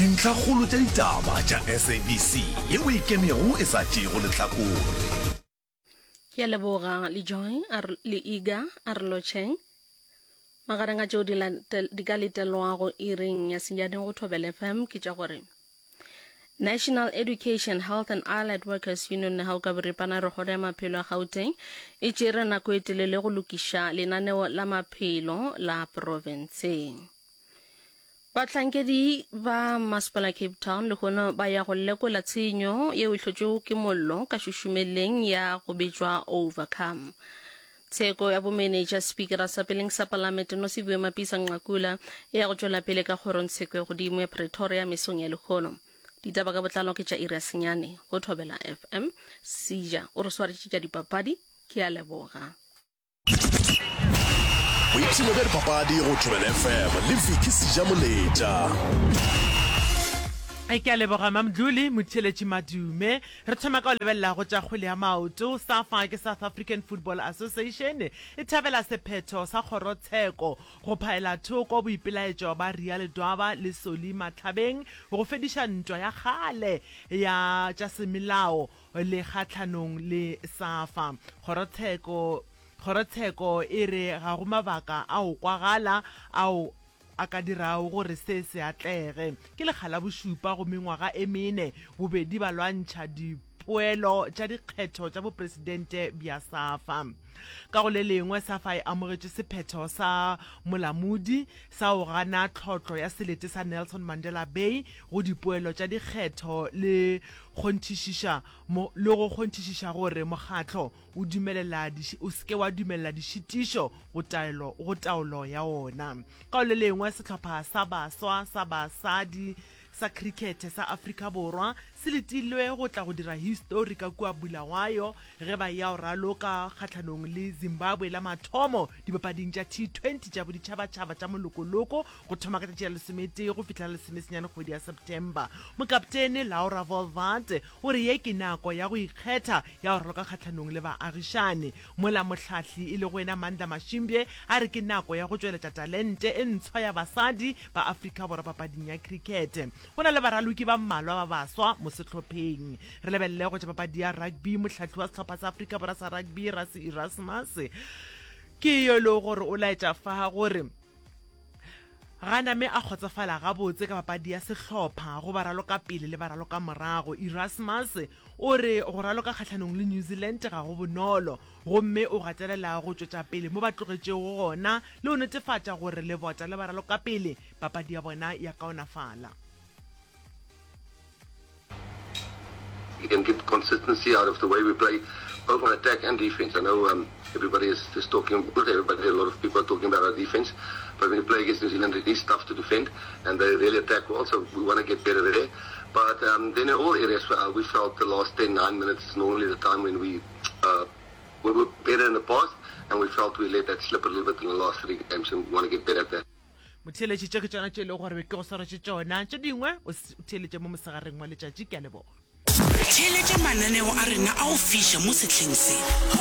Dintlhakgolo tša ditaba tša SABC yeo e ikemego e sa tšeego lehlakore. Ke a leboga le Joy a re, le Iga a re lotšheng. Magareng a tšeo di, di ka letelwago iring ya senyane go Thobela FM ke tša gore National Education, Health and Allied Workers Union Nehau ka boripana re kgoro ya maphelo ya Gauteng e tšere nako e telele go lokiša lenaneo la maphelo la profense. Bahlankedi ba Masepala Cape Town lehono ba ya go lekola tshenyo yeo e hlotšwego ke mollo ka šušumeleng ya go bitšwa Overcome. Tsheko ya bomenetša Spikara sa peleng sa Palamente Nosiviwe Mapisa Nqakula e ya go tšwela pele ka kgorongtsheko ya godimo ya Pretoria mesong ya lehono. Ditaba ka botlalo ke tša iri ya senyane go Thobela FM. Seja o re swaretše tša dipapadi. Ke a leboga. Boipshino bja dipapadi go Thobela FM le Vicky Sejamoletša. Ke a leboga Mamdluli Motheeletši Madume. Re thoma ka go lebelela go tša kgwele ya maoto. SAFA ke South African Football Association e thabela sephetho sa kgorotsheko go phaela thoko boipelaetšo ba Ria Ledwaba le Solly Matlhabeng go fediša ntwa ya kgale ya tša semelao le kgahlanong le SAFA. Kgorotsheko Kgorotsheko e re ga go mabaka a go kwagala ao a ka dirago gore se se atlege. Ke lekga la bošupa go mengwaga e mene bobedi ba lwantšha dipoelo tša dikgetho tša bopresidente bja SAFA. Ka go le lengwe, SAFA e amogetše sephetho sa molamodi sa go gana tlhotlo ya selete sa Nelson Mandela Bay go dipoelo tša dikgetho le kgonthišiša le go kgonthišiša gore mokgatlo o dumelela o se ke wa dumelela dišitišo go taelo go taolo ya wona. Ka go le lengwe, sehlopha sa baswa sa basadi sa khrikhethe sa Afrika Borwa se letilwe go tla go dira histori ka kua Bulawayo ge ba eya go raloka kgahlanong le Zimbabwe la mathomo dipapading tša T20 tša boditšhabatšhaba tša molokoloko go thoma ka tšatši la lesometee go fihla la lesomesenyane kgwedi ya September. Mokaptene Laura Wolvaardt o re ye ke nako ya go ikgetha ya go raloka kgahlanong le baagišane, mola mohlahli e lego yena Mandla Mashimbye a re ke nako ya go tšweletša talente e ntshwa ya basadi ba Afrika Borwa papading ya krikete. Go na le baraloki ba mmalwa ba baswa mo sehlopheng. Re lebelele go tša papadi ya rugby, mohlahli wa sehlopha sa Afrika Borwa sa rugby Rassie Erasmus ke yo e lego gore o laetša fa gore Ga name a kgotsofala gabotse ka papadi ya sehlopha go baralokapele le baralokamorago, Erasmus o re go raloka kgahlanong le New Zealand ga go bonolo gomme o gatelela go tšwetša pele mo ba tlogetšego gona le go netefatša gore lebota le baralokapele papadi ya bona ya kaonafala. You can get consistency out of the way we play, both on attack and defense. I know um, everybody is just talking, not everybody, a lot of people are talking about our defense, but when you play against New Zealand, it is tough to defend, and they really attack well, so we want to get better there. But um, then in all areas, uh, we felt the last 10, 9 minutes is normally the time when we, uh, we were better in the past, and we felt we let that slip a little bit in the last three games, and we want to get better at that. Motheeletši, tše ke tšona tše e lego gore be ke go swaretše tšona. Tše dingwe o theeletše mo mosegareng wa letšatši. Ke a leboga. Theeletša mananeo a rena a go fiša mo sehleng se.